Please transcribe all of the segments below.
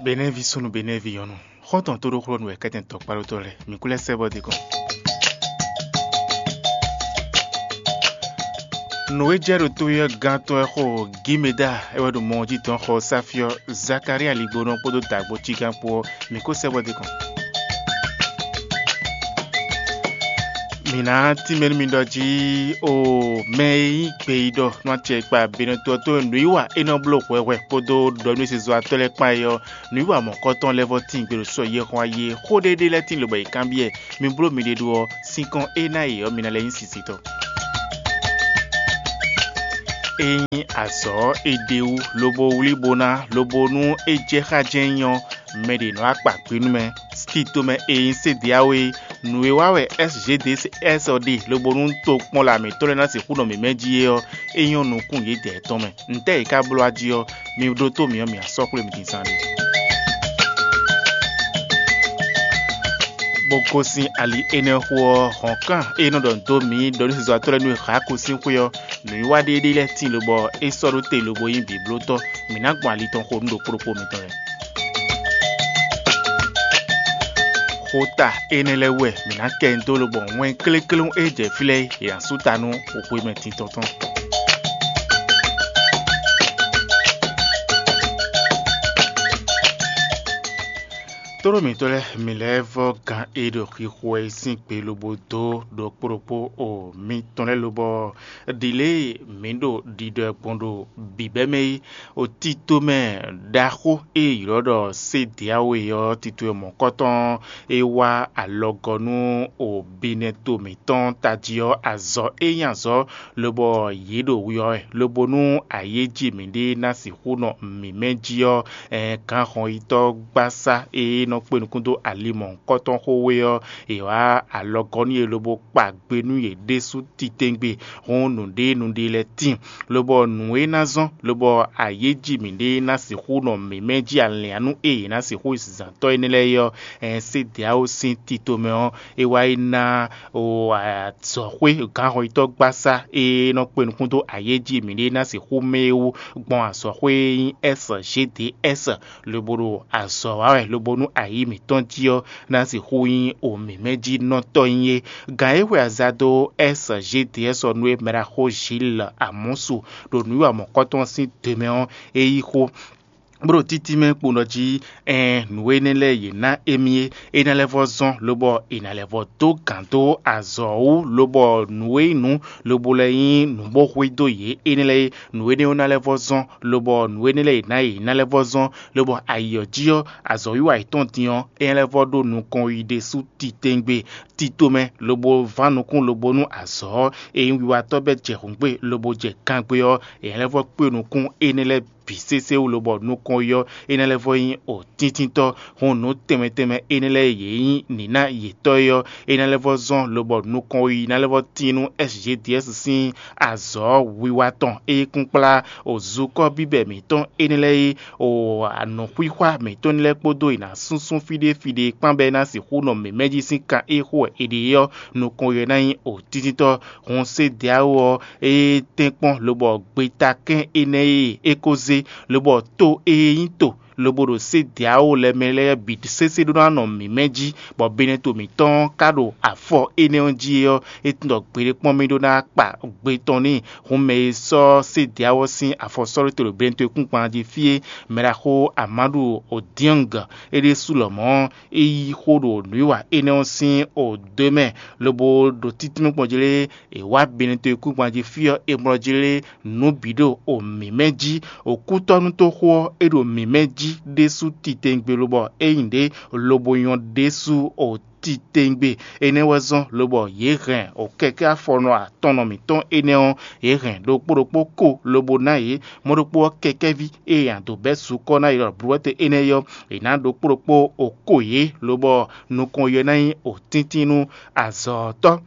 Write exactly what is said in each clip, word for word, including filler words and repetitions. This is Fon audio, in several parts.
Benɛ́vi súnnu, Benɛ́vi nyɔ̌nu, xɔ́ntɔn tóɖóxlɔ́nú wɛ kɛ́tɛn tɔkpáɖótɔ́ lɛ́ɛ, mǐ kú lɛ́ sɛ́ bɔ din kɔn. Nǔ e jɛ ɖo to ɔ́ gán tɔn wɛ xo Gimeda é wɛ ɖo mɔ ɔ́ jí dɔn xɔ Sáfiɔ Zakalía ligbónɔ kpódó dǎgbó cígán kpó ɔ́, mǐ kó sɛ́ bɔ din kɔn. Mǐ ná tínmɛ nú mi ɖɔ jí o mɛ e nyí gbeyíɖɔ nú acɛ e kpa Benɛto ɔ́ tó nǔwiwa é nɔ bló hwɛhwɛ kpódó ɖɔ nú sezɔ́watɔ́ lɛ́ɛ kpán é ɔ́, nǔwiwa mɔ̌kɔtɔn lɛ́ɛ vɔ́ tíin gbe ɖo sɔ yɛhɔn ayi e xó ɖé ɖé lɛ́ɛ tíin lobɔ è kanbyɔ́ ɛ. Mi bló miɖée ɖó ɔ́, sín kɔn é ná e ɔ́, mi ná lɛ́ nyí sisitɔ. Ényí azɔ̌ ɔ́ è ɖe wú lobo wlí bo ná lobo nú é jɛ xá jɛ́n nyí ɔ́, mɛ ɖě nɔ akpa gbe nú mɛ. Tito mɛ e nyí Sediawo é, nǔ e wa wɛ S G D S ɔ́ ɖe lobo nú tokpɔnla mǐtɔn lɛ́ɛ ná sixú nɔ mǐmɛ́ jí é ɔ́, é nyɔ́ nukún yědɛɛ tɔn mɛ. Ntɛ́ɛ è ka bló a jí ɔ́, mi ɖótó mǐ ɔ́, mǐ ná sɔ́ xwlé mi din zán ɖé. Bó gosín ali énɛ́ xo ɔ́, hɔ̌nkan e nɔ ɖɔ nǔ dó mǐ ɖɔ nú sezɔ́watɔ́ lɛ́ɛ nú è hǎ ko sín xwé ɔ́, nǔwiwa ɖé ɖé lɛ́ɛ tíin lobɔ é sɔ́ ɖó te lobo nyí bǐblótɔ́. Mǐ ná gbɔn ali tɔn xo nú ɖokpó ɖokpó mitɔn lɛ́ɛ. Xota énɛ́ lɛ́ɛ wú wɛ mǐ ná kɛ nyi dó lobɔ wɛn kléklé e jɛ fí lɛ́ɛ é, è nǎ sú ta nú hwemɛ titɔn tɔn. Tlóló mǐtɔn lɛ́ɛ, mǐ lɛ́ vɔ́ gán e ɖo xixo wɛ é sín gbe lobo dó ɖokpó ɖokpó o mitɔn lɛ́ɛ lobɔ ɖi lě e mǐ ɖo ɖiɖɔ ɛ gbɔn ɖo bǐbɛ́ mɛ é. O tito mɛ ɖaxó e è ylɔ́ ɖɔ Sediawo é ɔ́, tito e mɔ̌kɔtɔn é wá alɔgɔ́ nú o binɛto mǐtɔn tají ɔ́, azɔ̌ e nyí azɔ̌ lobɔ yě ɖo wiwa wɛ, lobo nú ayéjí mǐɖée ná sixú nɔ mǐmɛ́ jí ɔ́, ɛn gǎnhɔnyitɔ́ gbásá e nɔ kpé nukún dó ali mɔ̌hunkɔtɔn xó wé ɔ́, è wǎ alɔgɔ́ nú yě lobo kpa gbe nú yě ɖésú titewungbe. Hɔn nǔɖé nǔɖé lɛ́ɛ tíin, lobɔ nǔ e ná zɔ́n lobɔ ayéjí mǐɖée ná sixú nɔ mǐmɛ́ jí alɛ̌nú e yě ná sixú yi zǎntɔ́ énɛ́ lɛ́ɛ é ɔ́, ɛn Sediawo sín tito mɛ ɔ́, é wá yi ná o azɔ̌xwé gǎnhɔnyitɔ́ gbásá e nɔ kpé nukún dó ayéjí mǐɖée ná sixú mɛ é wú gbɔn azɔ̌xwé e nyí S G D S, lobo ɖo azɔ̌ wa wɛ lobo nú ayǐ mǐtɔn jí ɔ́ ná sixú nyí o mǐmɛ́jínɔtɔ́ nyí é. Gǎn e hwe aza dó S G D S ɔ́ nú é mɛ ɖaxó Gilles Amɔ́su ɖo nǔwiwa mɔ̌kɔtɔn sín do mɛ ɔ́, é yí xó bó ɖo títí mɛ kpo ɖɔ jí ɛn nǔ énɛ́ lɛ́ɛ yě ná émí é, é ná lɛ́ vɔ́ zɔ́n lobɔ è nǎ lɛ́ vɔ́ dó gǎn dó azɔ̌ wú, lobɔ nǔ e nyí nǔ lobo lɛ́ nyí nǔ bó xwedó yě énɛ́ lɛ́ɛ é. Nǔ énɛ́ ɔ́ ná lɛ́ vɔ́ zɔ́n, lobɔ nǔ énɛ́ lɛ́ɛ yě ná yě ná lɛ́ vɔ́ zɔ́n, lobɔ ayǐ ɔ́ jí ɔ́, azɔ̌wiwa yětɔn din ɔ́, é ná lɛ́ vɔ́ ɖó nukɔn yi ɖésú titewungbe tito mɛ, lobo ván nukún lobo nú azɔ̌ ɔ́, e nyí wiwatɔ́ bɛ́ jɛ hǔngbe lobo jɛ gangbe ɔ́, è ná lɛ́ vɔ́ kpé nukún énɛ́ lɛ́ɛ bǐ sésé wú lobɔ nukɔn yi ɔ́, é ná lɛ́ vɔ́ nyí o tíntítɔ́. Hɔn nǔ tɛnmɛ tɛnmɛ énɛ́ lɛ́ɛ yě nyí nǐná yětɔn é ɔ́, é ná lɛ́ vɔ́ zɔ́n lobɔ nukɔn yi ná lɛ́ vɔ́ tín nú S G D S sín azɔ̌ wiwa tɔn e kún kplá o zukɔ́ bíbɛ mǐtɔn énɛ́ lɛ́ɛ é, o anɔ̌xwíxwá mǐtɔn lɛ́ɛ kpódó è nǎ súnsún fí ɖé fí ɖé kpán bɔ é ná sixú nɔ mǐmɛ́ jí sín kan e xo wɛ è ɖe é ɔ́, nukɔn yi ɔ́ ná nyí o tíntítɔ́. Hɔn Sediawo ɔ́, é tɛ́nkpɔ́n lobɔ gbetakɛ́n énɛ́ e é ko zé, lobɔ to e nyí to lobo ɖo Sediawo lɛ́ɛ mɛ lɛ́ɛ bǐ sésé ɖó ná nɔ mǐmɛ́ jí, bɔ Benɛto mǐtɔn ka ɖo afɔ énɛ́ ɔ́ jí é ɔ́, é tunwun ɖɔ gbeɖé kpɔ́n mì ɖó ná kpa gbe tɔn n'i. Hǔn mɛ e sɔ́ Sediawo sín afɔ sɔ́ ɖó te ɖo Benɛto e kún gban jí fí é, mɛ ɖaxó Amadu Odiang é ɖésú lɔmɔ̌, é yí xó ɖo nǔwiwa énɛ́ ɔ́ sín odǒ mɛ, lobo ɖo títínmɛ gbɔn jí lé, è wá Benɛto e kún gban jí fí ɔ́, è mlɔ jí lé nǔ bǐ ɖo o mǐmɛ́ jí. Òkútɔ́nútóxó ɔ́, é ɖo mǐmɛ́ jí ɖésú titewungbe lobɔ é nyí ɖě lobo nyɔ́ ɖésú o titewungbe. Énɛ́ wɛ zɔ́n lobɔ yě hɛn o kɛkɛ́ afɔnɔ atɔnnɔ mǐtɔn énɛ́ ɔ́, yě hɛn ɖokpó ɖokpó ko lobo ná yě. Mɔ̌ ɖokpó ɔ́, kɛkɛ́ví e è nǎ dó bɛ́ sukɔ́ ná yě ɖɔ blǔwɛ́tɛn énɛ́ é ɔ́, è nǎ ɖokpó ɖokpó o ko yě, lobɔ nukɔn yɛ ná nyí o tíntín nú azɔ̌tɔ́.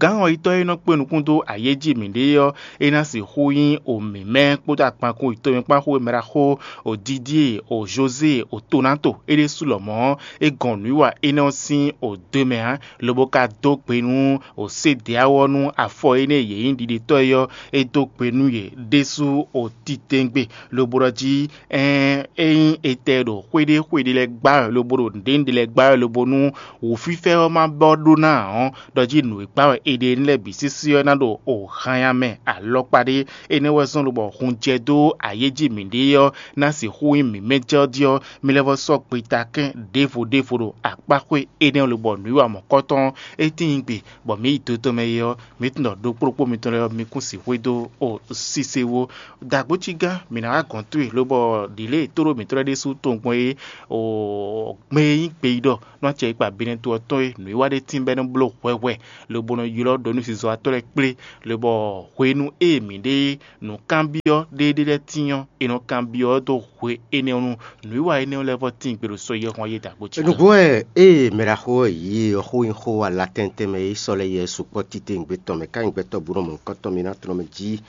Gǎn ɔ́ yitɔ́ e nɔ kpé nukún dó ayéjí mǐɖée ɔ́, é ná sixú nyí omǐmɛ́ kpódó akpankún yitɔ́mɛ kpán xó e mɛ ɖaxó o Didie o Jozée o Tonato é ɖésú lɔmɔ̌ ɔ́, é gɔn nǔwiwa énɛ́ ɔ́ sín o do mɛ ǎ, lobo ka dó gbe nú o Sédeáwɔ nú afɔ énɛ́ e yě nyí ɖiɖetɔ́ é ɔ́, é dó gbe nú yě ɖésú o titewungbe, lobo ɖɔ jí: Ɛɛn, ényí è tɛ ɖo xwé ɖé xwé ɖé lɛ́ɛ gbá wɛ lobo ɖo nǔɖé nǔɖé lɛ́ɛ gbá wɛ lobo nú wǔfífɛ́ ɔ́ ma bɔ ɖó ná ǎ ɔ́, ɖɔ jí nǔ e gbá wɛ è ɖe énɛ́ lɛ́ɛ bǐ sísí ɔ́ ná ɖo o hanya mɛ alɔkpa ɖé. Énɛ́ wɛ zɔ́n lobɔ hun jɛ dó ayéjí mǐɖée ɔ́ ná sixú nyí mǐmɛ́ jɛ ɔ́ jí ɔ́, mi lɛ́ vɔ́ sɔ́ gbetakɛ́n ɖěvo ɖěvo ɖo akpáxwé énɛ́ lobɔ nǔwiwa mɔ̌kɔtɔn ɔ́, é tíin gbe bɔ mǐ yi do tɔn mɛ é ɔ́, mǐ tunwun ɖɔ ɖokpóɖokpó mitɔn lɛ́ɛ ɔ́, mi kún sixú e dó o sise wú. Dǎgbócígán, mǐ ná wá gɔ̌n towe, lobɔ ɖǐlée e tóɖó mǐtɔn lɛ́ɛ ɖésú tɔn gbɔn é, o gbɛn e nyí gbeyíɖɔ nú acɛ e kpa Benɛto ɔ́ tɔn é, nǔwiwa ɖé tín bɔ é nɔ bló hwɛhwɛ, lobo nɔ ylɔ́ ɖǒnúzizɔ́watɔ́ lɛ́ɛ kplé, lobɔ hwenu e mǐ ɖe nǔkanbyɔ́ ɖéeɖé lɛ́ɛ tín ɔ́, è nɔ kanbyɔ́ ɔ́ dó hwe énɛ́ ɔ́ nu. Nǔwiwa énɛ́ ɔ́ lɛ́ vɔ́ tíin gbe ɖo sɔ́ yɛ́hɔn yé dǎgbócígán. Nǔgbó wɛ ée mɛ ɖaxó ɔ́ yǐ ɔ́ xó nyí xó ala tɛntɛn mɛ e sɔ́ lɛ́ yɛ sukpɔ́ titewungbe tɔn mɛ ká nyí gbɛtɔ́ bú nɔ mɔ̌hunkɔtɔn mǐ ná tlɔ́n mɛ jí.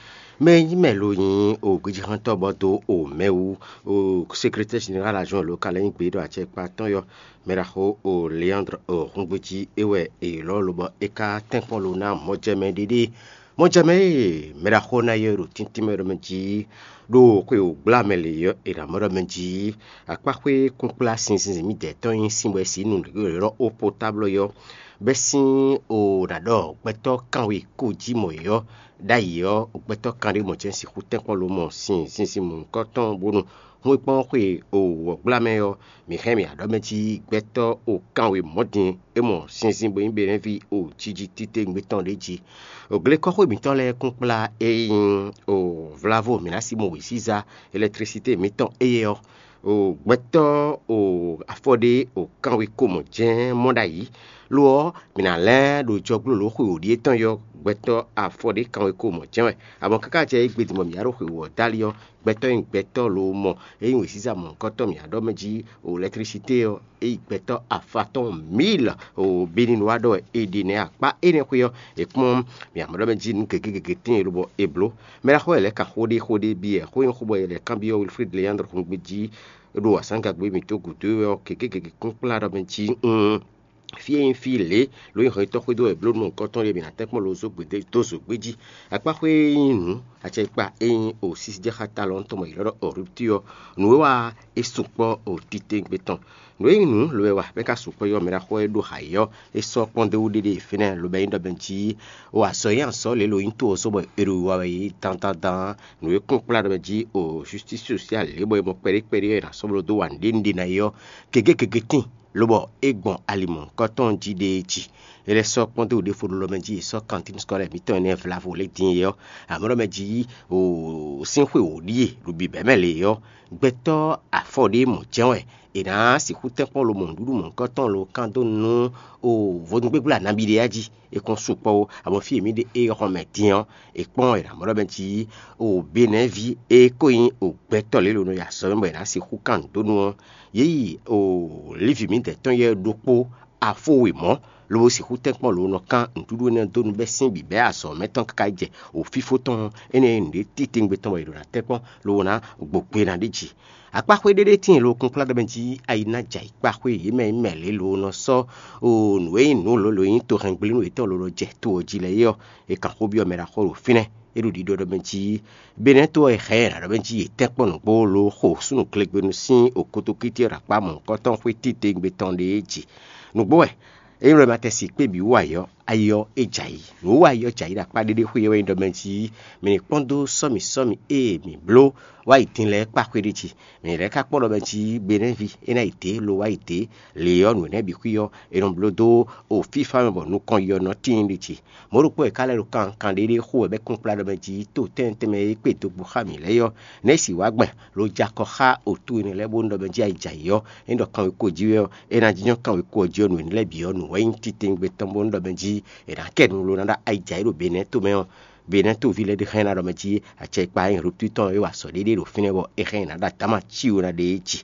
Mɛ e nyí mɛ lo nyí o gbejíxɔ́ntɔ́ bɔ dó o mɛ wú, o sekretɛ́ jenerál azɔn lo ka lɛ́ nyí gbeyíɖɔ acɛkpa tɔn yɔ, mɛ ɖaxó o Leandre o húngbéjí é wɛ è ylɔ́ lobɔ é ka tɛ́nkpɔ́n lo ná mɔjɛmɛ ɖiɖi. Mɔjɛmɛ e mɛ ɖaxó ná yɔ ɖo tíntín mɛ ɖɔ mɛ jí ɖo xwe wǒgbla mɛ lě ɔ́, è nǎ mɔ ɖɔ mɛ jí akpáxwé kúnkplá sinzin mǐdɛɛ tɔn nyí sin bɔ è sǐ nǔ ylɔ́ ó potáblɔ yɔ, bɛ́ sín o ɖaɖɔ gbɛtɔ́ kanwe kó jí mɔ yě ɔ́, ɖ'ayǐ ɔ́, gbɛtɔ́ kanɖé mɔ jɛ́n sixú tɛ́nkpɔ́n lo mɔ sin zinzin mɔ̌hunkɔtɔn bónú hun e kpɔ́n xwe o wɔ̌gbla mɛ ɔ́, mǐ hɛn mì aɖɔ́ mɛ jí gbɛtɔ́ o kanwe mɔ̌ din é mɔ sinzin bó nyí Benɛ́ví o jiji titewungbe tɔn ɖé jí. O glekɔ́xwé mǐtɔn lɛ́ɛ kún kplá e nyí o vlavo mǐ ná sí mɔ wěziza elɛkitrisité mǐtɔn éyɛ́ ɔ́, o gbɛtɔ́ o afɔ ɖé o kanwe ko mɔ jɛ́n mɔ ɖ'ayǐ. Lo ɔ́, mǐ ná lɛ́n ɖo jɔglólǒ xwe wǒ ɖíe tɔn yɔ gbɛtɔ́ afɔ ɖé kanwe ko mɔ jɛ́n wɛ. Amɔ̌ káká jɛ égbé din bɔ mǐ wá ɖo xwe wǒ ɔ́ dali ɔ́, gbɛtɔ́ e nyí gbɛtɔ́ lo mɔ e nyí wěziza mɔ̌hunkɔtɔn mǐ wá ɖɔ mɛ jí o lɛkitrisité ɔ́, é yi gbɛtɔ́ afatɔ́n mǐl o Beninu wá ɖɔ wɛ è ɖe nɛ́ akpá énɛ́ xwé ɔ́, è kpɔ́n mǐ amɔ̌ ɖɔ mɛ jí nǔ gěgé gěgé tíin lobɔ è blǒ. Mɛ ɖaxó e lɛ́ ka xó ɖé xó ɖé byɔ́ xó nyí xó bɔ è lɛ́ kanbyɔ́ Wilfrid Leandre húngbí jí ɖo azǎngagbe mǐtɔn gǔdo é ɔ́, gěgé gěgé kún kplá ɖɔ mɛ jí un fí e nyí fí lě ló nyí hɔnyitɔ́ xwedó wɛ bló nú nukɔntɔn ɖé mǐ ná tɛ́nkpɔ́n lo zó gbědé dó zǒgbé jí. Akpáxwé e nyí nǔ acɛkpa e nyí o sísíjɛxátalɔ́ntɔn mɔ yě lɔ́ ɖɔ Ɔrupti ɔ́, nǔ e wa é sukpɔ́ o titewungbe tɔn. Nǔ e nyí nǔ lobo wɛ wa bɔ é ka sukpɔ́ yɔ́ mɛ ɖaxó e ɖo hayǐ ɔ́, é sɔ́ kpɔ́n dó wú ɖéɖé fínɛ́ lobo nyí ɖɔ mɛ jí o azɔ̌ e azɔ̌ lě lo nyí to ɔ́ sɔ́ bɔ è ɖo wiwa wɛ yě dandandan. Nǔ e kún kplá ɖɔ mɛ jí o justice sociale lě bɔ è mɔ kpɛɖé kpɛɖé ɔ́ è nǎ sɔ́ bló dó wa nǔɖé nǔɖé ná é ɔ́, gěgé gěgé tíin lobɔ é gbɔn ali mɔ̌hunkɔtɔn jí ɖe jí. É lɛ́ sɔ́ kpɔ́n dó ɖěvo ɖo lɔ mɛ jí è sɔ́ kantín skɔ́lɛ mǐtɔn énɛ́ vlavo lě din é ɔ́, amɔ̌ ɖɔ mɛ jí o sín xwe wǒ ɖíe ɖo bǐbɛ́ mɛ lě ɔ́, gbɛtɔ́ afɔ ɖé mɔ̌ jɛ́n wɛ è nǎ sixú tɛ́nkpɔ́n lo mɔ nǔɖuɖu mɔ̌hunkɔtɔn lo kán dó nú o vodúngbégbla nabí ɖé jí. È kɔn sukpɔ́ ó, amɔ̌ fí e mǐ ɖe é hɔn mɛ din ɔ́, è kpɔ́n è nǎ mɔ ɖɔ mɛ jí o Benɛ́ví e ko nyí o gbɛtɔ́ lě lo nɔ yi azɔ̌ mɛ bɔ è nǎ sixú kan nǔ dó nú ɔ́, yě yi o Lívi mǐdɛɛ tɔn yɛ ɖokpó afó wěmɔ́, lobo sixú tɛ́nkpɔ́n lo nɔ kán nǔɖuɖu énɛ́ dó nú bɛ́ sín bǐbɛ́ azɔ̌ mɛ tɔn káká yi jɛ o fífó tɔn énɛ́ e nǔɖé titewungbe tɔn bɔ è ɖo ná tɛ́nkpɔ́n lobo ná gbo gbe ná ɖi jǐ. Akpáxwé ɖéɖé tíin lo kúnkplá ɖɔ mɛ jí ayi ná jɛ ayǐkpáxwé yě mɛ nyí mɛ lě lo nɔ sɔ́ o nǔ e nyí nǔ lǒ lo nyí tohɛngblénu yětɔn ló nɔ jɛ to ɔ́ jí lɛ́ɛ é ɔ́, è kan xó byɔ́ mɛ ɖaxó ɖo fínɛ́. É ɖo ɖiɖɔ ɖɔ mɛ jí Benɛ́to ɔ́ è hɛn ɛ ɖɔ mɛ jí yě tɛ́nkpɔ́n nǔgbó lo xo súnnu glegbenu sín okotokíti ɔ́ ɖo akpá mɔ̌hunkɔtɔn xwé titewungbe tɔn ɖé jí. Nǔgbó wɛ é nyí lɔ ma tɛ si kpé bǐ wú ayǐ ɔ́, ayi ɔ́ é jɛ ayǐ. Nǔ wú ayǐ ɔ́ jɛ ayǐ ɖo akpá ɖéɖé xwé ɔ́ wɛ nyí ɖɔ mɛ jí mɛ ní kpɔ́n dó sɔ́mi sɔ́mi e mǐ bló wá yi din lɛ́ɛ kpá xwé ɖé jí. Mǐ lɛ́ ka kpɔ́n ɖɔ mɛ jí Benɛ́ví é ná yi dě lo wá yi dě. Lě ɔ́, nǔ énɛ́ bǐ xwí ɔ́, è nɔ bló dó o fífá mɛ bɔ nukɔn yɔ nɔ tíin ɖi jí. Mɔ̌ ɖokpó e ka lɛ́ ɖo kankan ɖéɖé xo wɛ bɔ é kún kplá ɖɔ mɛ jí to tɛ́ntɛ́n mɛ e kpé dó gbɔ xá mǐ lɛ́ɛ ɔ́, nɛ̌ sì wá gbɛn lo jɛ akɔ xá otú énɛ́ lɛ́ɛ bónú ɖɔ mɛ jí ayi jɛ ayǐ ɔ́, é ɖɔ kanwekó jí wɛ ɔ́, é ná jínjɔ́n kanwekó ɔ́ jí ɔ́, nǔ énɛ́ lɛ́ɛ bǐ ɔ́, nǔ wɛ nyí titewungbe tɔn bónú ɖɔ mɛ jí è nǎ kɛ nu lo ná ɖɔ ayi jɛ ayǐ ɖo Benɛ́to mɛ ɔ́, Benɛ́toví lɛ́ɛ ɖe hɛn ná ɖɔ mɛ jí acɛkpa e nyí Ruptitɔn e wa sɔ ɖéɖé ɖo fínɛ́ bɔ é hɛn ná ɖo adǎma cí wó ná ɖe é jí.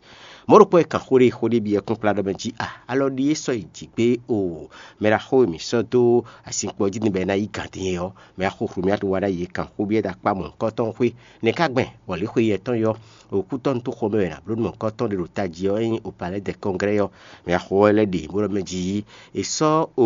Mɔ̌ ɖokpó e kan xó ɖé xó ɖé byɔ́ kpínkplá ɖɔ mɛ jí a alɔ ɖi é sɔ́ yi jǐ gbé o. Mɛ ɖaxó e mǐ sɔ́ dó asinkpo ɔ́ jí din bɔ é ná yí gǎn din é ɔ́, mɛ ɖaxó Hlomyadu wá ɖ'ayǐ e kan xó byɔ́ dó akpá mɔ̌hunkɔtɔn xwé. Nɛ̌ ka gbɛn bɔ lě xwe yɛtɔn yɔ òkútɔ́ nú tó xomɛ wɛ è nǎ bló nú mɔ̌hunkɔtɔn ɖé ɖo tají ɔ́ nyí o palɛ́ dɛ kɔnglɛ́ ɔ́? Mɛ axo ɔ́ lɛ́ ɖe bó ɖɔ mɛ jí è sɔ́ o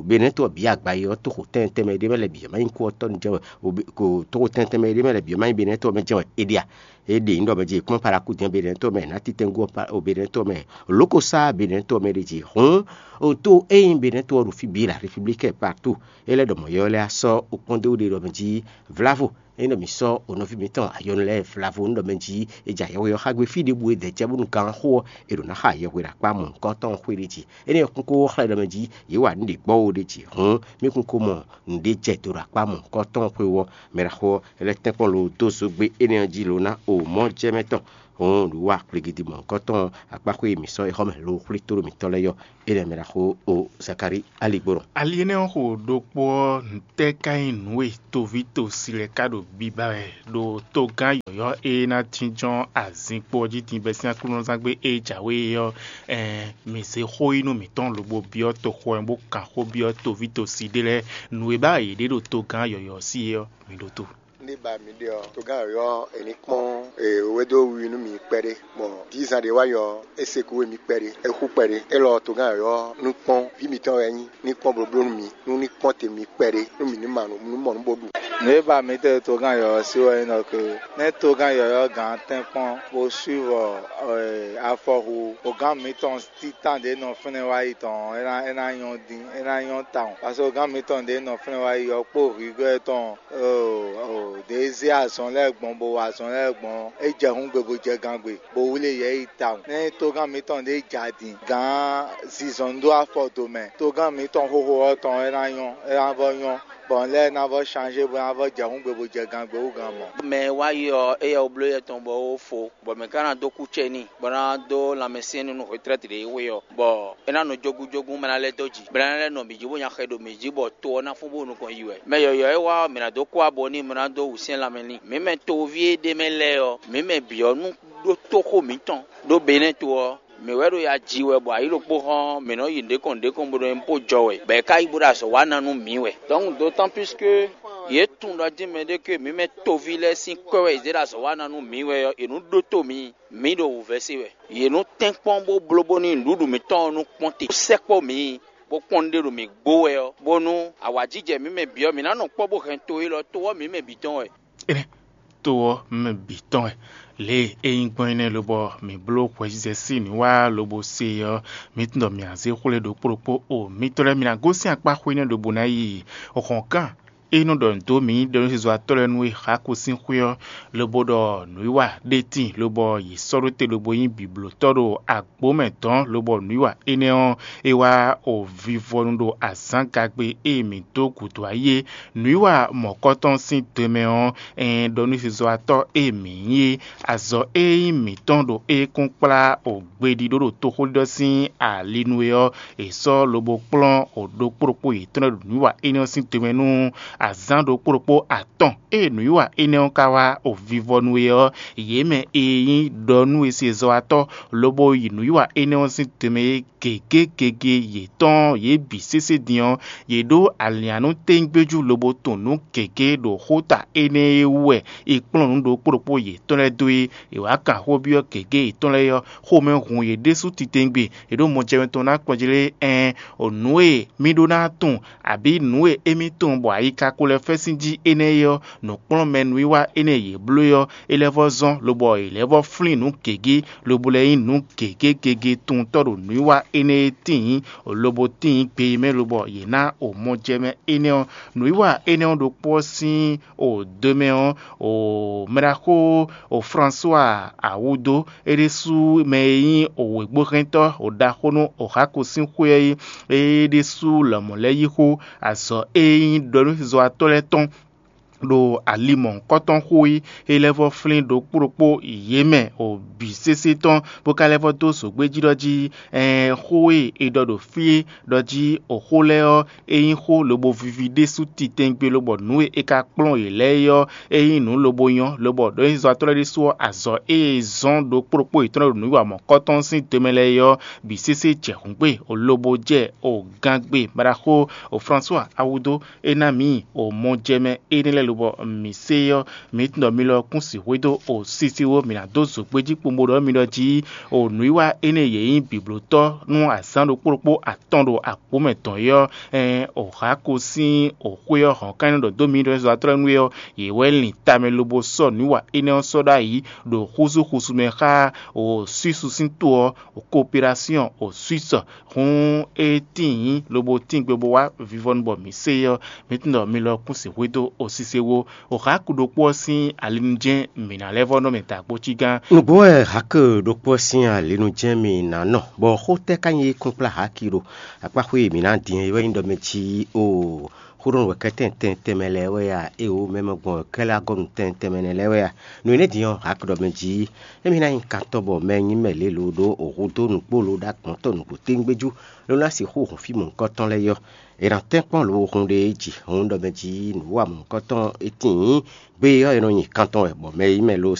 Benɛ́to ɔ́ bǐ agbayi ɔ́ tóxo tɛ́ntin tɛnmɛ ɖé mɛ lɛ́ bǐ ɔ́ má nyí kú ɔ́ tɔ́ nu jɛ́n wɛ, o Be- ko tóxo tɛ́ntin tɛnmɛ ɖé mɛ lɛ́ bǐ ɔ́ má nyí Benɛ́to ɔ́ mɛ jɛ́n wɛ é ɖe a? É ɖe nyǐɖɔ mɛ jí è kplɔ́n Palakúdɛn Benɛ́to mɛ è nǎ titɛngun ɔ́ pa- o Benɛ́to mɛ, lǒkosá Benɛ́to mɛ ɖe jí hǔn o tó e nyí Benɛ́to ɔ́ ɖo fí bǐ la République partout. É lɛ́ ɖɔ mɔ̌ yɔ́ lɛ́ɛ á sɔ́ o kpɔ́n dó ɖe ɖɔ mɛ jí vlavo. Ényí ɖɔ mǐ sɔ́ o nɔví mǐtɔn ayɔnu lɛ́ɛ vlavo nú ɖɔ mɛ jí è jɛ ayɛhwe ɔ́ xá gbé fí ɖěbǔ e dɛ̌ jɛ bónú gan xó ɔ́, è ɖǒ ná xa ayɛhwe ɖo akpá mɔ̌hunkɔtɔn xwé ɖé jí. Énɛ́ ɔ́ kún kó xlɛ́ ɖɔ mɛ jí yě wa nǔ ɖě gbɔ́ ó ɖé jí hǔn, mí kún kó mɔ nǔɖé jɛ do ɖo akpá mɔ̌hunkɔtɔn xwé ɔ́. Mɛ ɖaxó ɔ́, é lɛ́ tɛ́nkpɔ́n lo dó zǒgbé énɛ́ ɔ́ jí lo ná o mɔ̌ jɛ mɛ tɔn. Hǔn nǔwiwa kplígídí mɔ̌hunkɔtɔn akpáxwé e mǐ sɔ́ é xɔ mɛ lo xwlí tóɖó mǐtɔn lɛ́ɛ ɔ́, énɛ́ mɛ ɖaxó o Zakalíi ali gbɔn. Ali énɛ́ ɔ́ xo ɖokpó ɔ́, ntɛ́ ka nyí nǔ e toví tosi lɛ́ɛ ka ɖo biba wɛ ɖo togán yɔ̌yɔ́ e ná jínjɔ́n azinkpo ɔ́ jí din bɛ́ sín aklúnɔzángbe e jǎwe é ɔ́? Ɛɛn, mǐ zé xó yí nú mǐtɔn lobo byɔ́ toxo ɔ́ bó kan xó byɔ́ toví tosi ɖé lɛ́ɛ nǔ e ba yě ɖe ɖo togán yɔ̌yɔ́ ɔ́ sí é ɔ́, mǐ ɖótó. Ní ba mi ɖe ɔ́, togán yɔ̌yɔ́ ɔ́, è ní kpɔ́n wédó wiwi nú mi kpɛɖé. Gbɔn dízan ɖé wá nyɔ ɔ́, é se kú we mi kpɛɖé, é xú kpɛɖé. Élɔ́ togán yɔ̌yɔ́ ɔ́, nú kpɔ́n ví mitɔn wɛ é nyí, ní kpɔ́n blóbló nú mi, nú ní kpɔ́n te mi kpɛɖé, nú mǐ ní ma nǔ nú mɔ nǔ bó ɖu. Nǔ e ba mǐ tɛ́ togán yɔ̌yɔ́ sí wɛ nyí ɖɔ ke nɛ́ togán yɔ̌yɔ́ gǎn tɛ́nkpɔ́n bó swívɔ afɔhu ogán mǐtɔn títán ɖě nɔ fínɛ́ wá yi tɔn ɔ́, é ná é ná nyɔ́ dín, é ná nyɔ́ tawun. Paseke ogán mǐtɔn ɖě nɔ fínɛ́ wá yi ɔ́ kpó hwǐgɔ́ tɔn ɖě zé azɔn lɛ́ɛ gbɔn bó wa azɔn lɛ́ɛ gbɔn ɔ́, é jɛ hǔngbe bó jɛ gangbe, bó wlí yɛ yi tawun. Nɛ́ togán mǐtɔn ɖě ja din gǎn zinzɔn dó afɔ do mɛ, togán mǐtɔn xóxó ɔ́ tɔn é ná nyɔ́, é ná vɔ́ nyɔ́, bɔ nǔ lɛ́ɛ ná vɔ́ shanzé bó ná vɔ́ jɛ hǔngbe bó jɛ gangbe hú gǎn mɔ̌. Mɛ e wá yi ɔ́, éyɛ́ wú bló yɛ tɔn bɔ é wó fó, bɔ mɛ ka ná dó kú cɛ n'i, bɔ é ná dó lanmɛsyɛ́n n'i nú hwetrɛ́t ɖě e xwe ɔ́, bɔ é ná nɔ jógúnjógún mɛ ná lɛ́ dó jǐ, bɔ é ná lɛ́ nɔ mǐ jí bó nya xɛ ɖo mǐ jí, bɔ to ɔ́ ná fún bó nukɔn yi wɛ. Mɛ yɔ̌yɔ́ e wá ɔ́, mǐ ná dó kú abɔ n'i, bó ná dó wǔsyɛ́n lanmɛ n'i. Mǐ mɛ toví e ɖ'é mɛ lɛ́ɛ ɔ́, mǐ mɛ bǐ ɔ́ nú ɖó tóxó mǐtɔn ɖó Benɛ́to ɔ́, mǐ wɛ ɖo ya ji wɛ bɔ ayǐ ɖokpó hɔn mǐ nɔ yi nǔɖé kɔn nǔɖé kɔn bó nɔ nyí bó jɔ wɛ, bɔ è ka yi bó ɖo azɔ̌ wa ná nú mǐ wɛ. Donc d'autant plus que yě tunwun ɖɔ dín mɛɖé ke mǐ mɛ toví lɛ́ɛ sín kwɛ́ wɛ è zě ɖo azɔ̌ wa ná nú mǐ wɛ ɔ́, è nǔ ɖótó mǐ, mǐ ɖo wǔvɛ́ se wɛ. Yě nǔ tɛ́nkpɔ́n bó bló bónú nǔɖuɖu mǐtɔn ɔ́ nú kpɔ́n te, bó sɛkpɔ́ mǐ, bó kpɔ́n nǔɖé ɖo mǐ gbó wɛ ɔ́, bónú awǎjijɛ mǐ mɛ bǐ ɔ́, mǐ ná nɔ kpɔ́ bó hɛn to élɔ́, to ɔ́ mǐ mɛ bǐ tɔn wɛ. Énɛ́ to ɔ́ mɛ bǐ tɔn wɛ. Lě e é nyí gbɔn énɛ́ lobɔ mǐ bló hwɛzizɛ sín nǔwiwa lobo se ɔ́, mǐ tunwun ɖɔ mǐ ná zé xwlé ɖokpó ɖokpó o. Mitɔn lɛ́ɛ, mi ná gosín akpá xwé énɛ́ ɖěbǔ ná yi hɔ̌nkán e nɔ ɖɔ nǔ dó mǐ ɖɔ nú zizɔ́watɔ́ lɛ́ɛ nú é xá kú sín xwé ɔ́, lobo ɖɔ nǔwiwa ɖé tíin, lobɔ yě sɔ́ ɖó te lobo nyí bǐblótɔ́ ɖo agbǒ mɛ dɔ̌n, lobɔ nǔwiwa énɛ́ ɔ́, é wá o vivɔnu ɖo azǎngagbe e mǐ dó gǔdo ayé. Nǔwiwa mɔ̌kɔtɔn sín dɔmɛ ɔ́, ɛn ɖɔ nú zizɔ́watɔ́ e mǐ nyí é, azɔ̌ e nyí mǐtɔn ɖo é kún kplá o gbeɖiɖó ɖo toxóɖiɖɔ sín ali nu é ɔ́, è sɔ́ lobo kplɔ́n o ɖokpó ɖokpó yětɔn lɛ́ɛ ɖo nǔwiwa énɛ́ ɔ́ sín dɔmɛ nú azǎn ɖokpó ɖokpó atɔn. Ée nǔwiwa énɛ́ ɔ́ ka wá o vivɔnu é ɔ́, yě mɛ e nyí ɖɔ nú e se zɔ́watɔ́ lobo yi nǔwiwa énɛ́ ɔ́ sín dɔmɛ é gěgé gege yětɔn yě bǐ sésé din ɔ́, yě ɖó alǐannú téńgbéjú lobo tunwun nǔ gěgé ɖo xóta énɛ́ e wú wɛ è kplɔ́n nǔ ɖokpó ɖokpó yětɔn lɛ́ɛ dó é. È wǎ kan xó byɔ́ gěgé yětɔn lɛ́ɛ ɔ́, xomɛ hun yě ɖésú titewungbe. È ɖó mɔjɛmɛ tɔn ná kplɔ́n jí lé? Ɛɛn, nǔ e mì ɖó ná tunwun, abǐ nǔ e émí tunwun bɔ ayi ka ko lɛ́ fɛ́ sín jí énɛ́ é ɔ́, nǔkplɔ́nmɛ nǔwiwa énɛ́ e yě bló é ɔ́, é lɛ́ vɔ́ zɔ́n, lobɔ è lɛ́ vɔ́ flín nǔ gěgé, lobo lɛ́ nyí nǔ gěgé gege tunwuntɔ́ ɖo nǔwiwa énɛ́ e tíin, lobo tíin gbe e mɛ lobɔ yě ná o mɔjɛmɛ énɛ́ ɔ́. Nǔwiwa énɛ́ ɔ́ ɖokpó ɔ́ sín o do mɛ ɔ́, o mɛɖaxó o François Awudo, é ɖésú mɛ e nyí o wěgbóhɛntɔ́ o ɖaxó nú o xáko sín xwé ɔ́ é, é ɖésú lɔmɔ̌ lɛ́ yí xó azɔ̌ e nyí ɖɔ nú zɔ́watɔ́ lɛ́ɛ tɔn ɖo ali mɔ̌hunkɔtɔn xó e é lɛ́ vɔ́ flín ɖokpó ɖokpó yě mɛ o bǐ sésé tɔn, bó ka lɛ́ vɔ́ dó zǒgbéjí ɖɔ jí, ɛɛn, xó e è ɖɔ ɖo fí é ɖɔ jí o xó lɛ́ɛ ɔ́, é nyí xó lobo víví ɖésú titɛngbe, lobɔ nǔ e è ka kplɔ́n yě lɛ́ɛ é ɔ́, é nyí nǔ lobo nyɔ́, lobɔ ɖɔnyizɔ́watɔ́ lɛ́ɛ ɖésú ɔ́, azɔ̌ e è zɔ́n ɖokpó ɖokpó yětɔn ɖo nǔwiwa mɔ̌hunkɔtɔn sín do mɛ lɛ́ɛ é ɔ́, bǐ sésé jɛ hǔngbe, lobo jɛ o gangbe maɖaxó o François Awudo é ná mǐ o mɔjɛmɛ énɛ́ lɛ́ɛ lobɔ mǐ se ɔ́, mǐ tunwun ɖɔ mi lɔ kún sixwé dó o sisiwó mǐ ná dó zǒgbéjí kpombo ɖɔ mi ɖɔ jí o nǔwiwa énɛ́ yě nyí bǐblótɔ́ nú azǎn ɖokpó ɖokpó atɔn ɖo agbǒ mɛ dɔn é ɔ́, ɛɛn, o Hako sín o xwé ɔ́ hɔn ká nyí ɖɔ dó mi ɖɔ zɔ́ atlɔ́ nú é ɔ́, yě wɛ lin tamɛ lobo sɔ́ nǔwiwa énɛ́ ɔ́ sɔ́ ɖ'ayǐ ɖo xúzúxúzú mɛ xá o Suísu sín to ɔ́, o Kooperasyɔn o Suísu. Hǔn é tíin lobo tíin gbe bó wá vivɔnu bɔ mǐ se é ɔ́, mǐ tunwun ɖɔ mi lɔ kún sixwé dó o sise wó. O Hako ɖokpó ɔ́ sín alinujɛ́n mǐ ná lɛ́ vɔ́ nɔ mɛ da kpó cí gán. Nǔgbó wɛ Hako ɖokpó ɔ́ sín alinu jɛ́n mì ná nɔ, bɔ xó tɛ́ ka nyí é kún kplá Haki ɖo akpáxwé e mǐ ná din é wɛ nyí ɖɔ mɛ jí o xó ɖɔ nǔ wɛ kɛ́ tɛn tɛn tɛnmɛ lɛ́ɛ wɛ a? Éeǒ, mɛ mɛ gbɔn wɛ kɛ́ lɛ́ agɔ́ nǔ tɛn tɛnmɛ nɛ́ lɛ́ɛ wɛ a? Nǔ énɛ́ din ɔ́, Haki ɖɔ mɛ jí émí ná nyí kantɔ́ bɔ mɛ nyí mɛ lě lo ɖó o hudó nǔgbó lo ɖó agbɔ̌ntɔ́ nǔgbó téŋgbéjú ló ná sixú hun fí mɔ̌hunkɔtɔn lɛ́ɛ yɔ. È nǎ tɛ́nkpɔ́n lo hun ɖe é jǐ hun ɖɔ mɛ jí nǔ wa mɔ̌hunkɔtɔn é tíin gbé ɔ́, è nɔ nyi kantɔn wɛ bɔ mɛ e nyí mɛ lo